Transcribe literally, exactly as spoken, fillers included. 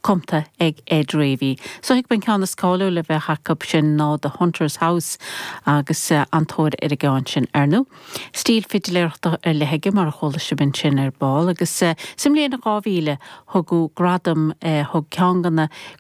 cumtha ag Ed Ravy. So ag ben ceann is cáiliúla le bheith acu sin ná The Hunter's House agus uh, an-tóir ar an gceann sin ar ndóigh. Stíl fidiléireachta ar leith aige mar a chuala sibh ansin ar ball agus uh, sa mbliain dhá mhíle thugadh gradam uh, thug ceann de na